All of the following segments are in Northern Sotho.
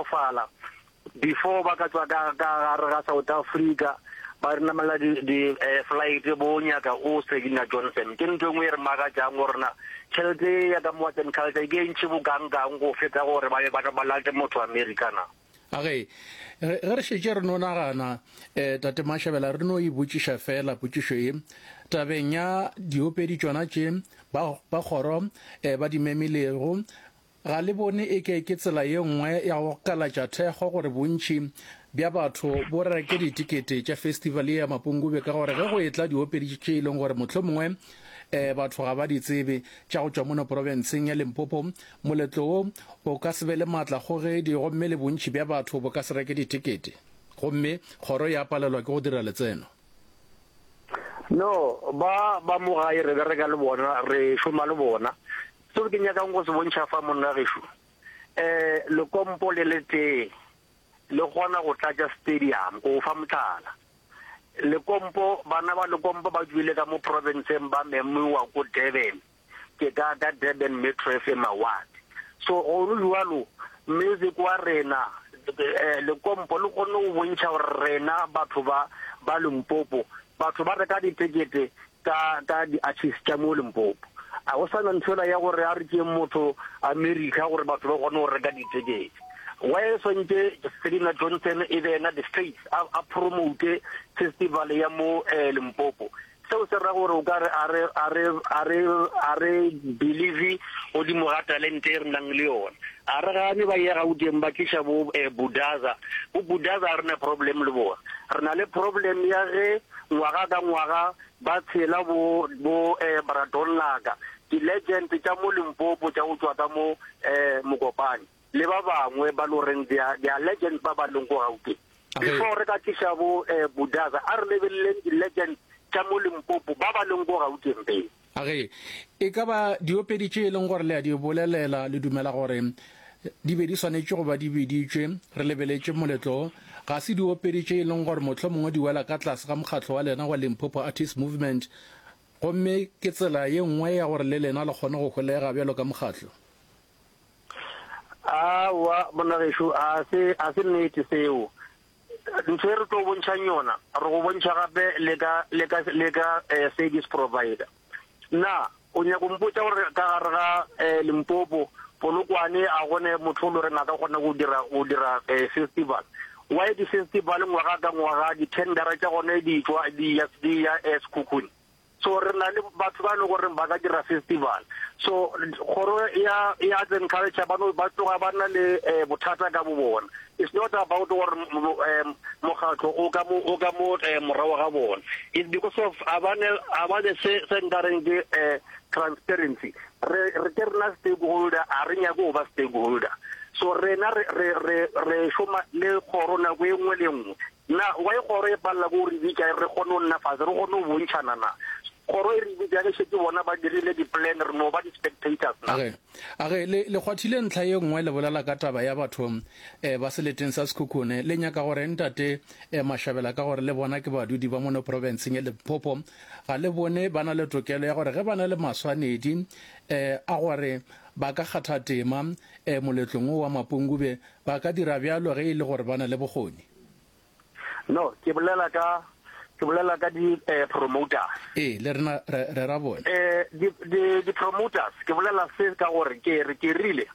kgotsofala before ba ka tswa ka ka gare ga South Africa ba re namela di di eh, flight bo nyaka o Selina Johnson. Ke ntho e nngwe e re makatšang gore na tšhelete ya ka mo Arts and Culture ke e ntši bokangkang go feta gore ba be ba ba late motho America na. A ge, ge re šetše re no nagana, eh, Tate Mashabela, re no e botšiša feela potšišo ye, tabeng ya diopedi tšona tše ba, ba kgoro eh, ba di memilego, ga le bone eke ke tsela ye nngwe ya go kalatša thekgo gore bontši bja batho bo reke ditikete tša festival ye ya Mapungubwe ka gore ge go etla diopedi tše e leng gore mohlomongwe eh, batho ga ba di tsebe tša go tšwa mono profenseng ya Limpopo, Moletlo wo o ka se be le maatlakgogedi gomme le bontši bja batho bo ka se reke dithekete, gomme kgoro ya palelwa ke go dira letseno. No, ba ba mo gae re bereka le bona, re šoma le bona. Seo ke nyakang go se bontšha fa monna gešo, eh, lekompo le letee le kgona go tlatša stadium, go fa mohlala. Lekompo, bana ba Lekompo ba tšwile ka mo profenseng ba memiwa ko Durban. Ke ka ka Durban Metro FM Award. So go le jwalo music wa rena eh, Lekompo le kgonne go bontšha gore rena batho ba ba Limpopo batho ba reka ditekete ka ka di-artist tša mo Limpopo. A go sana ntho ya gore a re tšeeng motho America gore batho ba kgone go reka ditekete. Why swantše Selina Johnson e be yena the face a, a promote festival ya mo eh, Limpopo. Seo se ra gore o ka re a re, a re, a re, a re believe godimo ga talente e re nang le yona. A re gane ba ye Gauteng ba tliša bo eh, Budaza. Bo Budaza ga re na problem le bona. Re na le problem ya ge ngwaga ka ngwaga ba tshela bo, bo eh, Bradonlaka, di-legend tša mo Limpopo tša go tšwa ka mo eh, Mokopane. Le ba bangwe ba lo reng they are, they are legends ba ba leng ko Gauteng. Before re ka tliša bo eh, Budaza, a re lebeleleng di-legends tša mo Limpopo ba ba leng ko Gauteng pele. A ge e ka ba diopedi tše e leng gore le a di bolelela, le dumela gore di be di swanetše go ba di biditšwe, re lebeletše moletlo wo, ga se diopedi tše e leng gore mohlomongwe di wela ka tlase ga mokgatlo wa lena wa Limpopo Artist Movement, gomme ke tsela ye nngwe ya gore le lena le kgone go holega bjalo ka mokgatlo? Aowa, monna gešo, a se, a se nnete seo. Ntho e re tlo bontšhang yona, re go bontšha gape le ka, le ka, le ka eh, service provider. Na o nyaka mpotša gore ka gare ga eh, Limpopo, Polokwane a gone motho o le goreng a ka kgona go dira, go dira eh, festival? Why di-festival ngwaga ka ngwaga di-tendera tša gone di tšwa di ya, di ya eh, Sekhukhune? So re na le batho ba e leng gore ba ka dira festival. So kgoro ya ya Arts and Culture ba no ba tloga ba na le eh, bothata ka bo bona. It's not about gore eh, mokgatlo o ka mo o ka mo eh, morago ga bona. It's because of a ba ne a ba ne se se nkareng ke eh, transparency. Re re ke rena stakeholder a re nyake go ba stakeholder. So rena re re re re šoma le kgoro nako e nngwe le e nngwe. Na why kgoro e palela ke go re bitša re kgone go nna fase re kgone go bontšhana na? Kgoro e re bitša ge šetše bona ba dirile di plan re no ba di spectators na? Age, age, le, le kgwathile ntlha ye nngwe le bolela ka taba ya batho eh, ba seleteng sa Sekhukhune. Le nyaka gore ntate eh, Mashabela ka gore le bona ke badudi ba mono profenseng ya Limpopo, ga le bone ba na le tokelo ya gore ge ba na le maswanedi eh, a gore ba ka kgatha tema eh, moletlong wo wa Mapungubwe, ba ka dira bjalo ge e le gore ba na le bokgoni? No, ke bolela ka ke bolela ka di eh, promoters. Ee, le rena re re ra bone. Eh di di di promoters ke bolela se ka gore ke re ke rile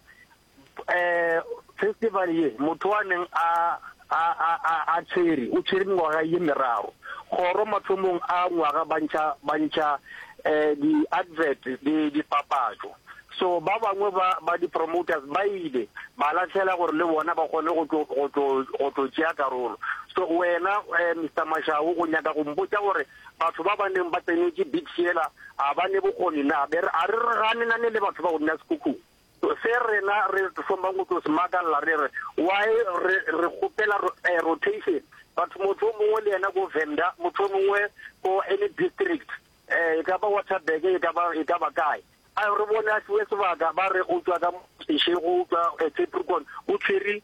eh festival ye motho wa neng a a a a a tshwere o tshwere mengwaga ye meraro kgoro mathomong a ngwaga ba ntšha ba ntšha eh di advert di dipapatšo So ba bangwe ba, ba di-promoters ba ile ba lahlela gore le bona ba kgone go tlo, go tlo, go tlo tšea karolo. So wena eh, Mister Mashau o nyaka go mpotša gore batho ba ba neng ba tsenetše bid yela a ba ne bokgoni na? Be re, a re re ganelane le batho ba go nna Sekhukhung. So se rena re thomang go tlo se makalla re re why re, re kgopela eh, rotation. Batho motho o mongwe le yena ko Venda, motho o mongwe ko any district, eh, e ka ba Waterberg, e ka ba, e ka ba kae. A re bone a fiwe sebaka, ba re o tšwa ka Seshego, o tšwa Capricorn, o tshwere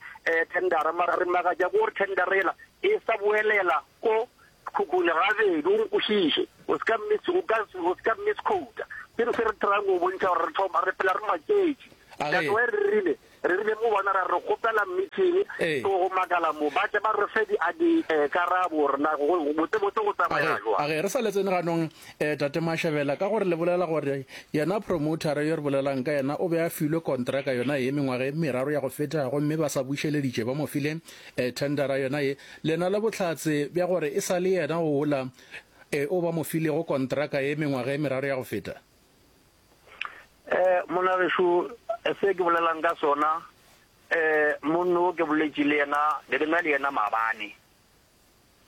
thendara, mara re makatša ke gore thendara yela e sa boelela ko Khukhune gabedi, o nkwešiše, o se ka miss, o ka, o se ka misquota. Ke se re tryang go bontšha gore re thoma, re phela re maketše. That's why re rile. Re rile mo bona ra re kgopela meeting Ee. so go makala mo ba tle ba re fe di a di eh, karabo gore na go botse botse go tsamaya Age, jwang. age, re sa le tsene ganong eh, Tate Mashabela, ka gore le bolela gore yena promoter yo re bolelang ka yena o be a filwe kontraka yona ye mengwaga e meraro ya go feta gomme ba sa bušeleditše ba mo file eh, tendera yona ye. Le na le bohlatse bja gore e sa le yena ola eh, o ba mo filego kontraka ye mengwaga e meraro ya go feta? Eh, monna gešo, se ke bolelang ka sona, eh, monno o ke boletše le yena, be ke na le yena maabane.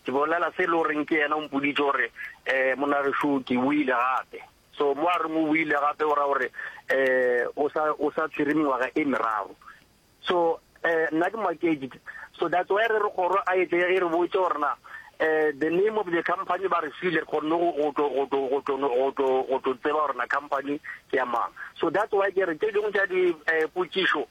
Ke bolela se e le goreng ke yena o mpoditše gore, eh, monna gešo, ke boile gape. So mo a reng o boile gape o ra gore, eh, o sa, o sa tshwere mengwaga e meraro. So eh nna ke maketše. So that's why re re kgoro a etle e re botše gore na eh the name of the company ba re file re kgonne go go tlo go tlo go tlo go tlo go tlo tseba gore na company ke ya mang. So that's why ke re tše dingwe tša di eh potšišo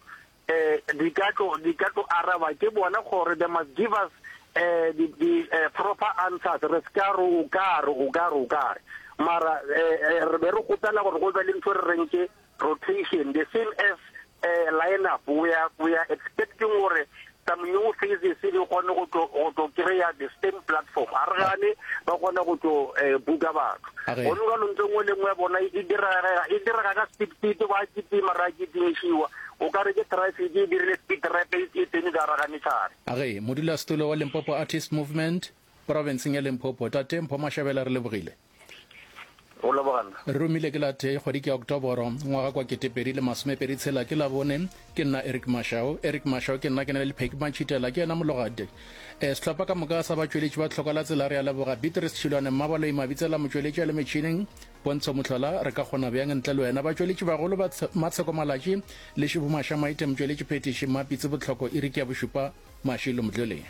eh di ka tlo di ka tlo araba ke bona gore they must give us eh di di eh, proper answers re se ka re o ka re o ka re o ka re mara eh, eh, re be re kgopela gore go be le ntho re reng ke rotation the same as uh, line up we are, we are expecting gore some new faces di kgone go tlo go tlo kry-a the same platform a re gane ba kgone go tlo eh, buka batho gone jalo ntho nngwe le nngwe ya bona e direga e direga ka speed speed ba kitima ra kitimišiwa o ka re ke traffic e dirile speed rap e e tsene ka gare ga metlhare. Age, modulasetulo wa Limpopo Artist Movement, profenseng ya Limpopo, Tate Mpho Mashabela re lebogile. Go leboga nna. Re romile ke la tee kgwedi ke ya Oktoboro ngwaga kwa 2026 ke Labone. Ke nna Eric Mashau. Eric Mashau ke nna ke na le Pheki Mantšhitela ke yena mologadi. E, sehlopha ka moka sa batšweletši ba tlhoka la tsela re a leboga. Beatrice Tšhilwane Mmabaloi Mabitsela motšweletši a le metšhineng. Pontsho Mohlola re ka kgona bjang ntle le wena. Batšweletši bagolo ba Matsheko Malatši le Šibu Maša Maite motšweletši phethiši Mmapitsi Botlhoko iri ke ya bošupa Mashilo Mdluli.